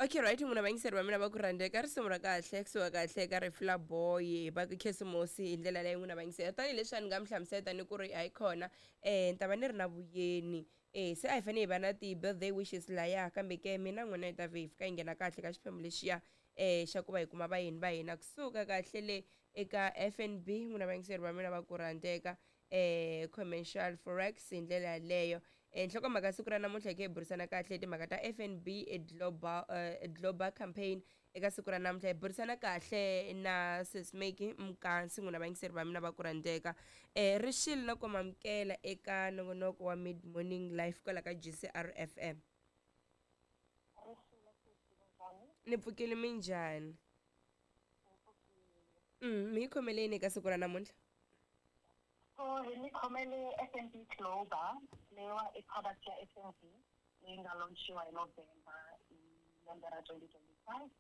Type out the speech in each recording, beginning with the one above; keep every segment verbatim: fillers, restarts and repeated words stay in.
Okay, right, n'wina vayingiseri va mina va ku rhandzeka, risimu ra kahle kusuka kahle ka Rifla Boy va ku Khisimusi hi ndlela leyi. N'wina vayingiseri, tanihileswi a ni nga mi hlamusela ni ku ri hayi kona, um ni ta va ni ri na vuyeni, um se a hi fanele hi va na ti-birthday wishes laya, kambe ke mina n'wina hi ta vhe hi fika hi nghena kahle ka xiphemu lexiya um xa ku va hi kuma vayeni va hina kusuka kahle le eka F N B. N'wina vayingiseri va mina va ku rhandzeka, eh commercial forex hi ndlela yaleyo. eh nhlokomhaka siku ra namuntlha hi kha hi burisana kahle timhaka ta F N B global uh, global campaign. Eka siku ra namuntlha hi burisana kahle na Sismeki Mkansi. N'wina vayingiseri va mina va ku rhandzeka, eh rixile na ku mamukela eka nongonoko wa Mid Morning Life kwala ka G C R F M. Ni pfukile, minjhani? mm mi hi khomeleni eka siku ra namuntlha? So hi mi khomele F N B Global, leyiwa i product ya F N B leyi nga launchiwa hi November hi lembe ra twenty twenty-five.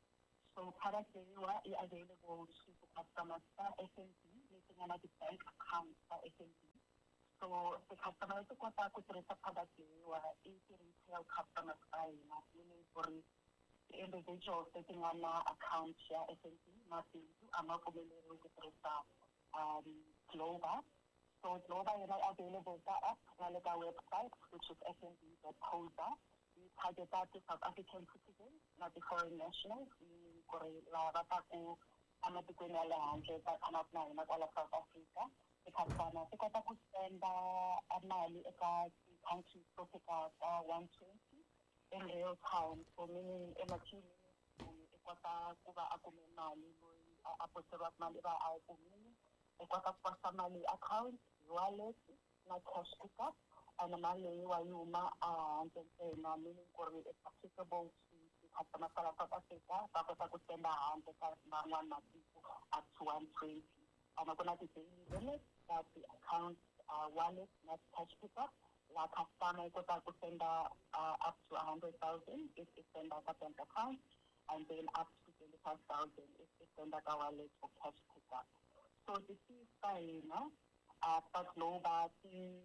So product leyiwa i available to ti-customers ta F N B leti nga na ti-bank accounts ta F N B. So ti-customer leti kotaka ku tirhisa product leyiwa i ti-retail customers ta hina, meaning ku ri ti-individuals leti nga na account ya F N B. Mabindzu a ma pfumeleriwi ku tirhisa um Global. So Global yona i available ka app na le ka website, which is F N B dot co za. Yi targeta ti-South African citizens na ti-foreign nationals, meaning ku ri lava va taku ematikweni ya le handle va tshamaka na hina kwala South Africa. Ti-customer ti kota ku senda mali eka ti-countries to fika ka one twenty in real time. So meaning in a few minutes munhu i kota ku va a kume mali, loyi a a poseriwaka mali i va a yi kumile. I kota ku posta mali hi account, hi wallet na cash pickup, and mali leyiwa yi huma ehandle ntsena, meaning ku ri it's applicable to ti-customer ta la South Africa. Va kota ku senda handle ka man'wani matiko up to one twenty, and ku na ti-daily limits ta ti-account, uh, wallet na cash pickup, laha customer yi kota ku senda uh, up to a hundred thousand if i senda ka bank account, and then up to twenty-five thousand if i senda ka wallet or cash pickup. So ti-fees ta hina uh, ta Global ti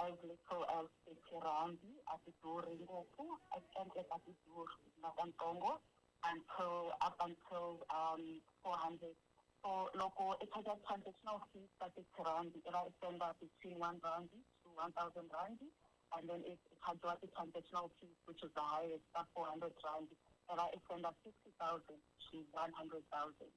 as little as thirty randi, a ti durhi ngopfu, a ti endleka ti durhi nakantsongo, until up until um four hundred. So loko i charge transactional fees ta thirty randi, i va i senda between one randi to one thousand randi, and then if i charge ti-transactional fees, which is the highest, ta four hundred randi, i va i senda fifty thousand to one hundred thousand.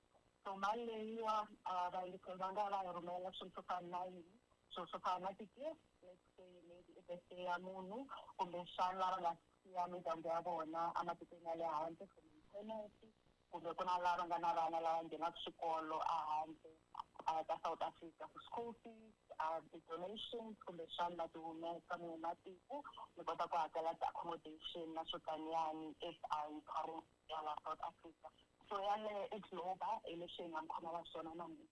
So mali leyiwa uh, vayingiseri va nga va yi rhumela swilo swo fana na yini? Swilo swo fana na ti-gift, let's say maybe i birthday ya munhu, kumbexana lava nga siya mindyangu ya vona ematikweni ya le handle for maintenance, kumbe ku na lava nga na vana lava nghenaka xikolo ehandle uh, ka South Africa for school fees, uh, ti-donations, kumbexana ma ti humesa mi matiko mi kota ku hakela ti-accommodation na swo taniyani if a yi currency ya la South Africa. So yaleyo i Global, hi leswi hi nga mi khomela swona namuntlha.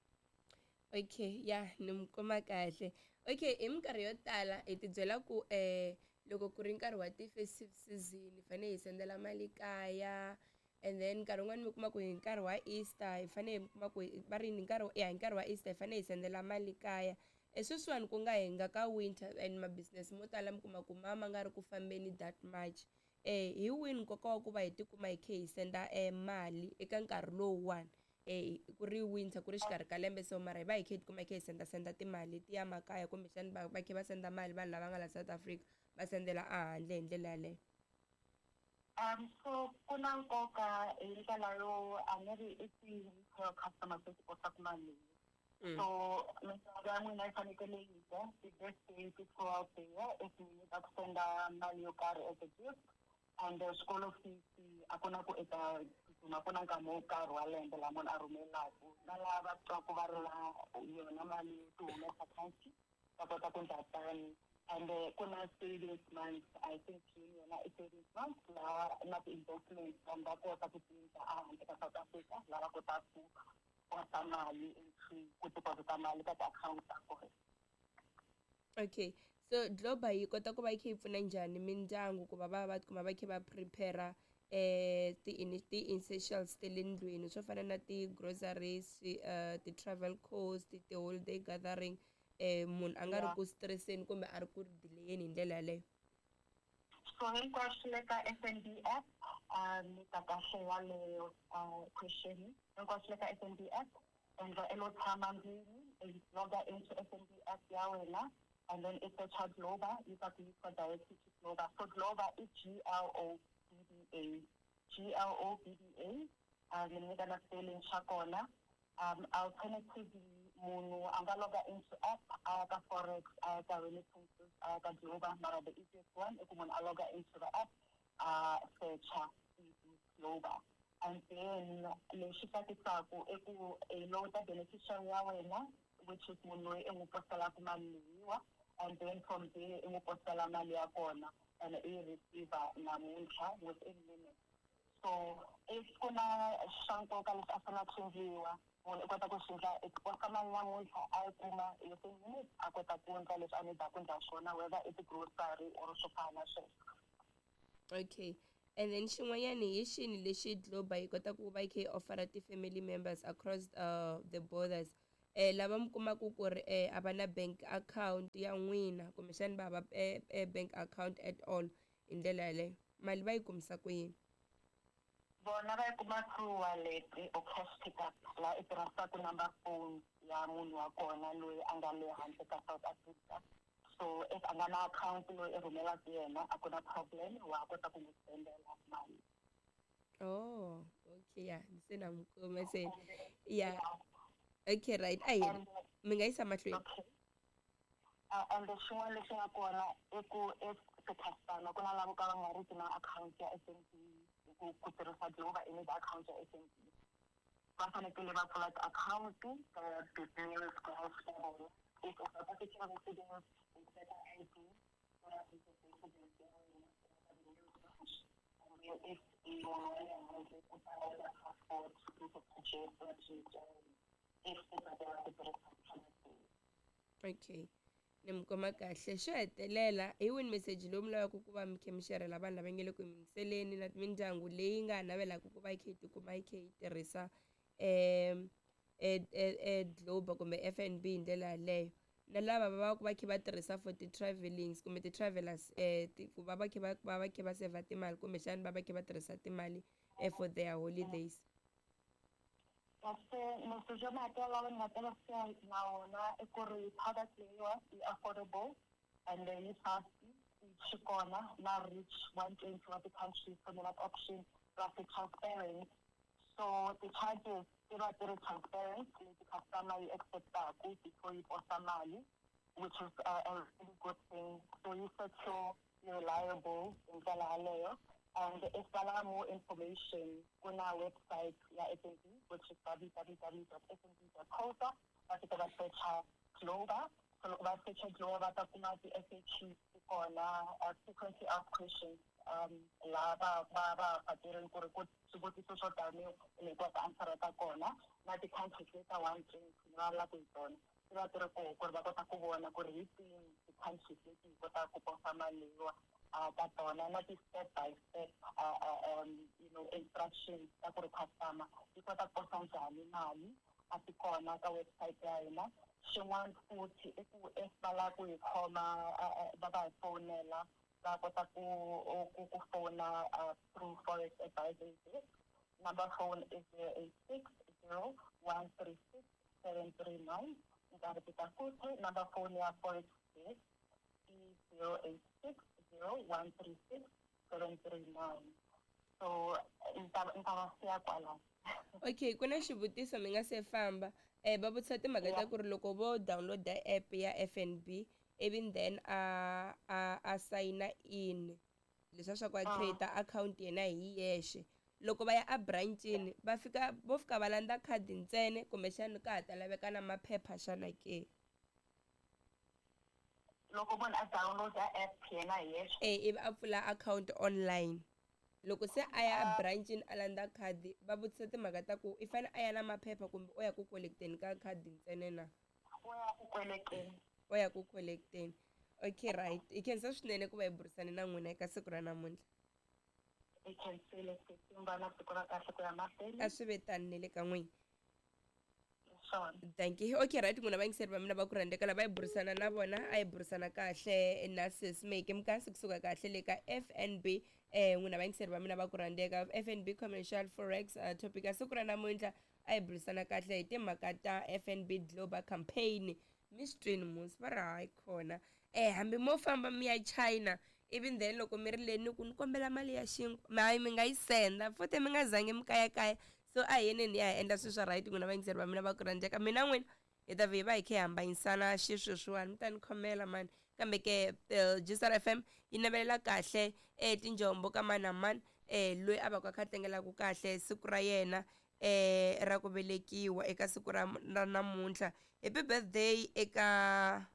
Okay, ya ni mi kuma kahle. Okay, hi minkarhi yo tala hi ti byela ku eh loko ku ri nkarhi wa ti-festive season hi fanele hi sendela mali kaya, and then nkarhi wun'wani mi kuma ku hi nkarhi wa Easter hi fanele hi kuma ku va ri hi nkarhi ya hi nkarhi wa Easter hi fanele hi sendela mali kaya. E sweswiwani ku nga hi nga ka winter and ma business mo tala mi kuma ku ma ma nga ri ku fambeni that much, eh hi wini nkoka wa ku va hi tikuma hi kha hi senda e mali eka nkarhi lowuwani, eh ku ri winter, ku ri xikarhi ka lembe, so mara hi va hi kha hi tikuma hi kha hi senda senda timali ti ya makaya, kumbexani va va kha va senda mali vanhu lava nga la South Africa va sendela ehandle hi ndlela yaleyo? Um, so ku na nkoka hi ndlela yo a ni ri i ti-retail customers leti kotaka mali leyi. Mm. So mindyangu ya n'wina yi fanekele yi dya ti-birthday ti throughout the year, if mi nyika ku senda mali yo karhi as a gift, and the school fees a ku na ku eka tsutsuma, ku na nkarhi wo karhi wa lembe laha munhu a rhumelaku, na lava va twaku va ri na yona mali yo ti humesa country va kota ku endla tani. And uh, ku na savings month, I think June yona i savings month, laha na ti-investments vanhu va kota ku ti endla ehandle ka South Africa, laha va kotaka ku posa mali into ku deposita mali ka ti-account ta kona. Okay, so Global yi kota ku va yi kha yi pfuna njhani mindyangu ku va va va tikuma va kha va prepare eh ti ti-essentials ta le ndlwini swo fana na ti-groceries, uh, ti-travel cost, ti-holiday gathering, eh munhu a nga ri Yeah. ku stresseni kumbe a ri ku delayeni hi ndlela yaleyo? So hinkwaswo le ka F N B app. Um ni ta kahle yaleyo uh, question. Hinkwaswo le ka F N B app, endla i lo tshama ndlwini, i loga into F N B app ya wena and then i searcha Globa, yi ta ku yisa directly to Globa. So Globa i G L O B B A, G L O B B A. um ni nyika na spelling xa kona. um alternatively munhu a nga loga into app, a ya ka forex, a ya ka remittances, a ya ka Globa, mara the easiest one i ku munhu a loga into the app, a searcha Globa. And then lexi tsakisaka i ku i load beneficiary ya wena, which is munhu loyi i n'wi postelaka mali leyiwa, and then from there i n'wi postela mali ya kona and i yi receive namuntlha within minutes. So if ku na swa nkoka leswi a fanele swi endliwa, munhu i kota ku swi endla, i posta mali namuntlha, a yi kuma within minutes, a kota ku endla leswi a need-aka ku endla swona, whether i ti-grocery or swo fana na sweswo. Okay, and then xin'wanyana, hi xini lexi Globa yi kotaka ku va yi kha yi offera ti-family members across uh, the borders, eh lava mi kumaka ku ri eh a va na bank account ya n'wina, kumbexani va hava eh, eh, bank account at all? Hi ndlela yaleyo mali va yi kumisa ku yini? Vona va yi kuma through wallet or cash pickup, laha i tirhisaka number phone ya munhu wa kona loyi a nga le handle ka South Africa. So if a nga na account loyi i rhumelaka yena, a ku na problem, wa kota ku n'wi sendela mali. Oh, okay, ya se na mi kuma se. Ya, okay, right, a hi And mi nga yisa mahlweni. Okay, uh, and xin'wana lexi nga kona i ku if ti-customer ku na lava ka va nga ri ki na account ya F N B, ku ku tirhisa Globa i need account ya F N B, va fanekele va pfula ti-account ta business branch ta vona. If u South African residence, u teka I D ya residence ya wena branch, and then if i munhu wa le handle, u ta lava passport, proof of address na ya wena if u tsakela ku tirhisa product leyi. Okay, ni mi kuma kahle. Xo hetelela, hi wini meseji lowu mi lavaka ku va mi kha mi xerhela vanhu lava nge le ku yingiseleni na mindyangu leyi nga navelaka ku va yi kha yi tikuma yi kha yi tirhisa um e, e, e Globa kumbe F N B hi ndlela yaleyo, na lava va va ku va kha va tirhisa for ti-travelings kumbe ti-travelers, eh ku va va kha va va va kha va save timali, kumbexana va va kha va tirhisa timali eh, for their holidays? Kasi message yo mahetelela lawa ni nga ta va siya na wona i ku ri product leyiwa yi affordable and then yi fast, swi kona na reach one twenty wa ti-countries, so ni na option plus i transparent, so ti-charges ti va ti ri transparent leti customer yi acceptaku before yi posta mali, which is a, a really good thing. So yi secure, yi reliable hi ndlela yaleyo. And if va lava more information, ku na website ya F N B, which is w w w dot f n b dot co za. Va fika va searcha Globa. So loko va searcha Globa, va ta kuma ti-F A Qs ti kona, uh, frequently asked questions, um laha va va va fakerini ku ri ku swivutiso swo tani leti va ti-answera ta kona, na ti-countries leti ta one twenty ni vulavulaka hi tona ti va ti ri koho, ku ri va kota ku vona ku ri hi tihi ti-countries leti hi kotaka ku posa mali leyiwa uh, ta tona, na ti-step by step uh, uh, um, you know instructions ta ku ri customer yi kota ku posa njhani mali, a ti kona ka website ya hina. Xin'wana futhi i ku if va lava ku hi khoma, va va hi fowunela, va kota ku ku ku fona uh, through Forex Advisory Desk. Number phone is zero eight six zero one three six seven three nine. Ni ta repeat futhi, number phone ya Forex Desk i zero eight six zero one three six seven three nine. So ni ta ni ta va siya kwalano. Okay, ku na xivutiso mi nga se famba. um va vutisa timhaka ta ku ri loko vo download-a app ya F N B, ivi then a a a sign in, leswiya swa ku a create account yena hi yexe, loko va ya a branchini va fika vo fika va landza khadi ntsena, kumbexana ka ha ta laveka na maphepha xana ke? Loko munhu a download-a app yena hi yexe? E, ivi a pfula account online, loko se a ya a branchini a landza khadi, va vutisa timhaka ta ku i fanele a ya na maphepha kumbe o ya ku collecteni ka khadi ntsena na? O ya ku kolekeni. O ya ku collecteni. Okay, right, hi khensa swinene ku va hi burisane na n'wina eka siku ra namuntlha. I khensile sesi, mi va na siku ra kahle ku ya mahlweni. A swi ve tani ne le ka n'wina. Swona. Thank you. Okay, right, n'wina vayingiseri va mina va ku rhandzeka, lava hi burisana na vona, a hi burisana kahle na sis Meki Mukasi kusuka kahle le ka F N B. um n'wina vayingiseri va mina va ku rhandzeka F N B Commercial Forex uh, topic ya siku ra namuntlha a hi burisana kahle hi timhaka ta F N B Global Campaign. Mi swi twini musi va ri hayi khona um hambi mo famba mi ya China even then loko mi ri le ni ku ni kombela mali ya xinkwa hayi mi nga yi senda futhi mi nga zangi mi kayakaya. So a hi yeneni ya hi endla swilo swa right n'wina vayingiseri va mina va ku rhandzeka. Mina n'wina hi ta vhe hi va hi kha hi hambanyisana xisweswiwani mi ta ni khomela mani. Kambe ke G S R F M yi navelela kahle um tinjombo ka mani na mani um loyi a va ku a kha a tlangelaka kahle siku ra yena um ra ku velekiwa eka siku ra ra namuntlha. Happy birthday eka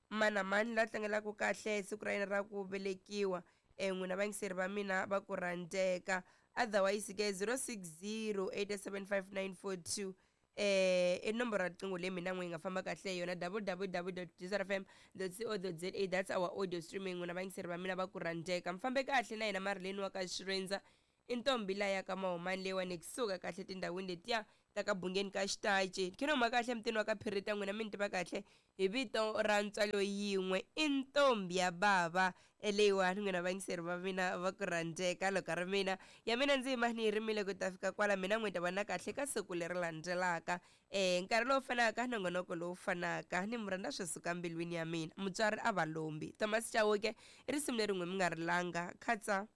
mani na mani la tlangelaka kahle siku ra yena ra ku velekiwa um n'wina vayingiseri va mina va ku rhandzeka. Otherwise ke zero six zero eight seven five nine four two eh i nomboro ya riqingho leyi mina n'wi yi nga famba kahle hi yona w w w dot g s r f m dot co dot z a. That's our audio streaming. N'wina vayingiseri va mina va ku rhandzeka, mi fambe kahle na hina Marileni wa ka Xirendza i ntombi laya ka Mahumani leyiwani kusuka kahle tindhawini letiya ta ka Bungeni ka Xitachi. Khe no huma kahle emutini wa ka Phirita, n'wina mi ni tiva kahle hi vito ra ntswalo yin'we i ntombi ya bava leyiwani. N'wina vayingiseri va mina va ku rhandzeka, loko ri mina ya mina ndzi yima ni yi rimile ku ta fika kwala mina n'wi ta vona kahle ka siku leri landzelaka um nkarhi lowu fanaka nongonoko lowu fanaka ni mi rhandza swi suka mbilwini ya mina. Mutswari a va lombi. Thomas Chauke i risimu leri n'wi mi nga ri langa. Khatsa.